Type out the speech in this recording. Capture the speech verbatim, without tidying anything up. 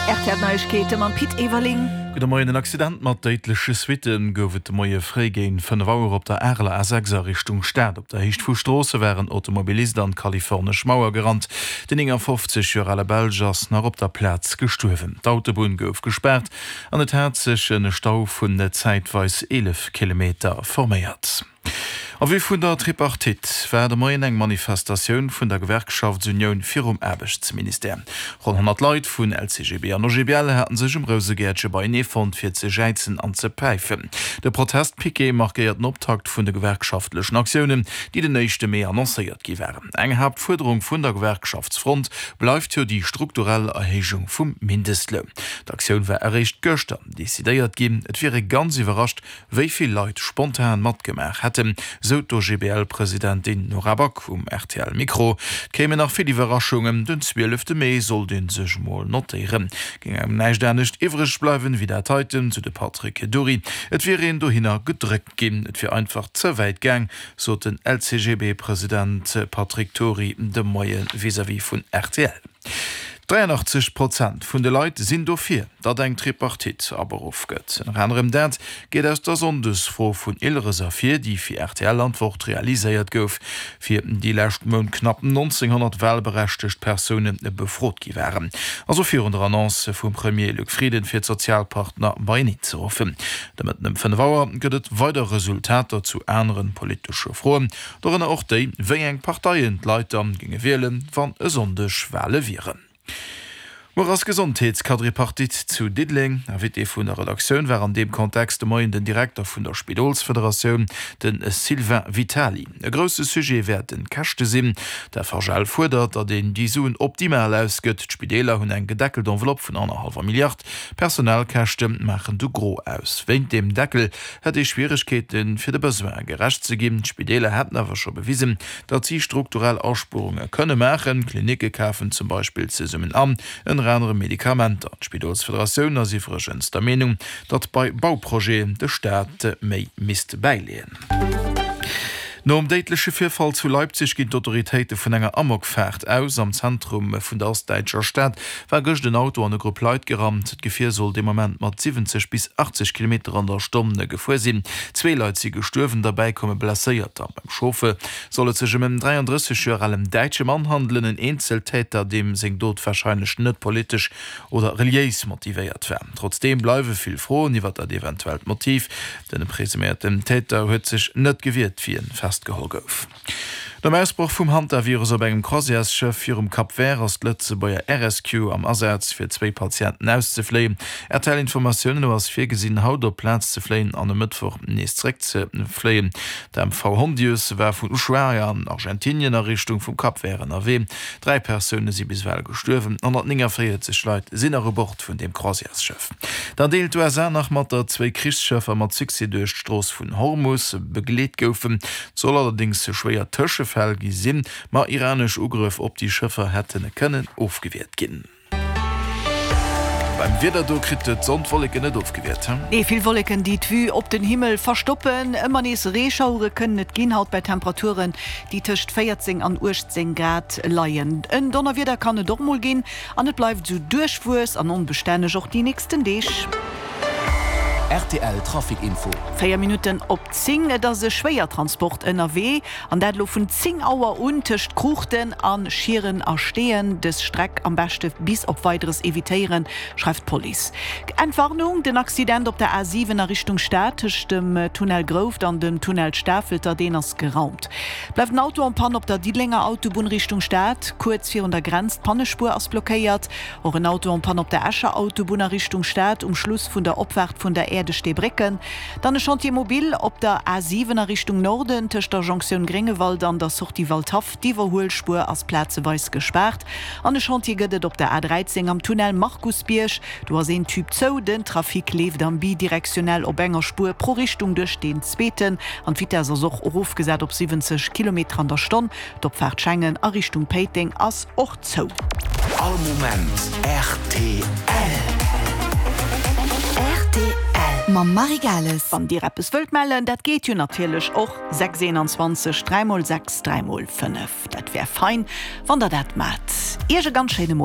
R T L Neiegkeete mam Pit Everling. Gudde Moien, En Accident mat déidleche Suitte gouf et de Moie fréi géint fënnef Auer op der Areler A sechs a Richtung Stad. Op der Héicht vu Stroosse war en Automobilist an d'kalifornesch Mauer gerannt. Den néngafofzeg Joer ale Belsch ass nach op der Plaz gestuerwen. D'Autobunn gouf gespaart an et hat sech en Stau vun zäitweis eelef Kilometer forméiert. En vue vun der Tripartite war de Moien eng Manifestatioun vun der Gewerkschaftsunioun virum Aarbechtsministère. Ronn honnert Leit vun L C G B an O G B L haten sech um Rousegäertche beienee fonnt fir ze jäizen an ze päifen. De Protestpiquet markéiert den Optakt vun de gewerkschaftlechen Aktiounen, déi den éischte Mee annoncéiert gi waren. Eng Haaptfuerderung vun der Gewerkschaftsfront bleift jo déi strukturell Erhéijung vum Mindestloun. D'Aktioun war eréischt gëschter decidéiert ginn. Et wier ee ganz iwwerrascht, wéi vill Leit spontan matgemaach hätten, sou d'O G B L-Presidentin Nora Back um R T L-Mikro. Et kéimen nach vill Iwwerraschungen, den zwielefte Mee sollt ee sech mol notéieren. Géing engem näischt anescht iwwreg bleiwen, wéi dat heiten, sou de Patrick Dury. Et wier een dohinner gedréckt ginn, et wier einfach ze wäit gaang, sot den L C G B-President Patrick Dury de Moie vis-à-vis vun R T L. dräianachtzeg Prozent vun de Leit sinn dofir, datt eng Tripartite aberuff gëtt. Ënner anerem dat geet aus der Sonndesfro vun Ilres ervir, déi fir R T L an d'Wort realiséiert gouf, fir déi lescht Mount knapp nonzénghonnert walberechtegt Persoune befrot gi waren. Also virun der Annonce vum Premier Luc Frieden fir d'Sozialpartner beieneen ze ruffen. De Mëtten ëm fënnef Auer gëtt et weider Resultater zu anere politesche Froen, dorënner och déi, wéi eng Parteien d'Leit dann géinge wielen, wann e Sonndeg Wale wieren. Muer ass Gesondheetsquadripartite zu Diddeleng. Invité vun der Redaktioun war an deem Kontext de Moien den Direkter vun der Spidolsfederatioun, de Sylvain Vitali. E grousse Sujet wäerten d'Käschte sinn. D'F H L fuerdert, datt een déi Suen optimal ausgëtt. D'Spideeler hunn eng gedeckelt Enveloppe vun annerhallwer Milliard. Personalkäschte maachen de Gros aus. Wéint deem Deckel hätt ee Schwieregkeeten, fir de Besoine gerecht ze ginn. D'Spideeler hätten awer scho bewisen, datt si strukturell Aspuerunge kënne maachen. Klinicke kafen zum Beispill zesummen an, ënner anerem Medikamenter. D'Spidolsfederatioun ass iwwregens der Meenung, datt bei Bauprojeten de Staat méi misst bäileeën. Nom déidleche Virfall zu Leipzig ginn d'Autoritéite vun enger Amokfaart aus. Am Zentrum vun der ostdäitscher Stad war gëscht en Auto an e Grupp Leit gerannt. D'Gefier soll dee Moment mat siwwenzeg bis achtzeg Kilometer an der Stonn gefuer sinn. Zwee Leit si gestuerwen, derbäi komme Blesséierter. Beim Chauffer soll et sech ëm en dräiandrësseg Joer alen däitsche Mann handelen, en Eenzeltäter, deem seng Dot warscheinlech net politesch oder reliéis motivéiert war. Trotzdeem bleiwe vill Froen iwwer dat eventuellt Motiv. Den presuméierten Täter huet sech net gewiert, wéi en festgeholl gouf. Nom Ausbroch vum Hantavirus op engem Croisièresschëff virum Cap Vert ass d'Lëtzebuerger R S Q am Asaz fir zwéi Patienten auszefléien. R T L-Informatiounen no ass virgesinn, haut op d'Plaz ze fléien an e Mëttwoch nees zeréck ze fléien. D'M V Hondius war vun Ushuaia an Argentinien a Richtung vum Cap Vert ënnerwee. Dräi Persoune si bis ewell gestuerwen, honnertnéngavéierzeg Leit sinn nach u Bord vun deem Croisièresschëff. Dann deelt d'U S A nach mat, datt zwéi Krichsschëffer mat Succès duerch d'Strooss vun Hormus begleet goufen. Et soll allerdéngs schwéier Tëschefäll gi sinn, ma iranesch Ugrëff op déi Schëffer hätte kënnen ofgewiert ginn. Beim Wieder, do kritt d'Sonn d'Wolleken net ofgewiert, he? Nee, vill Wolleken, déi d'Vue op den Himmel verstoppen. Ëmmer nees Reeschauere kënnen et ginn, haut bei Temperaturen, déi tëscht véierzéng an uechtzéng Grad leien. En Donnerwieder kann et och mol ginn an et bleift esou duerchwuess an onbestänneg och déi nächsten Deeg. R T L Trafic Info. Véier Minutten op zéng, et ass e Schwéiertransport ënnerwee an dat elo vun zéng Auer un tëscht Kruuchten a Schieren a Steeën. Dës Streck am beschte bis op Weideres evitéieren, schreift d'Police. Entwarnung, Den Accident op der A siwen a Richtung Stad tëscht dem Tunnel Grouft an dem Tunnel Stafelter, deen ass geraumt. Bleift en Auto en panne op der Diddelenger Autobunn Richtung Stad, kuerz virun der Grenz, d'Pannespuer ass blockéiert. Och en Auto en panne op der Escher Autobunn a Richtung Stad um Schluss vun der Opfaart vun der Äerdesteebrécken. Dann e Chantier mobile op der A siwen a Richtung Norden tëscht der Jonktioun Gréngewald an der Sortie Waldhaff. D'Iwwerhuelspuer ass plazeweis gespaart. An e Chantier gëtt et op der A dräizéng am Tunnel Markusbierg. Do ass een Tube zou, den Trafic leeft am bidirektionell op enger Spuer pro Richtung duerch deen zweeten an d'Vitess ass och erofgesat op siwwenzeg Kilometer an der Stonn. D'Opfaart Schengen a Richtung Péiteng ass och zou. All Moment R T L. R T L mam Marie Gales. Wann Dir eppes wëllt mellen, dat geet jo natierlech och, sechs eenanzwanzeg dräi mol sechs dräi mol fënnef. Dat wär fein, wann Der dat maacht. Iech e ganz schéine Moien.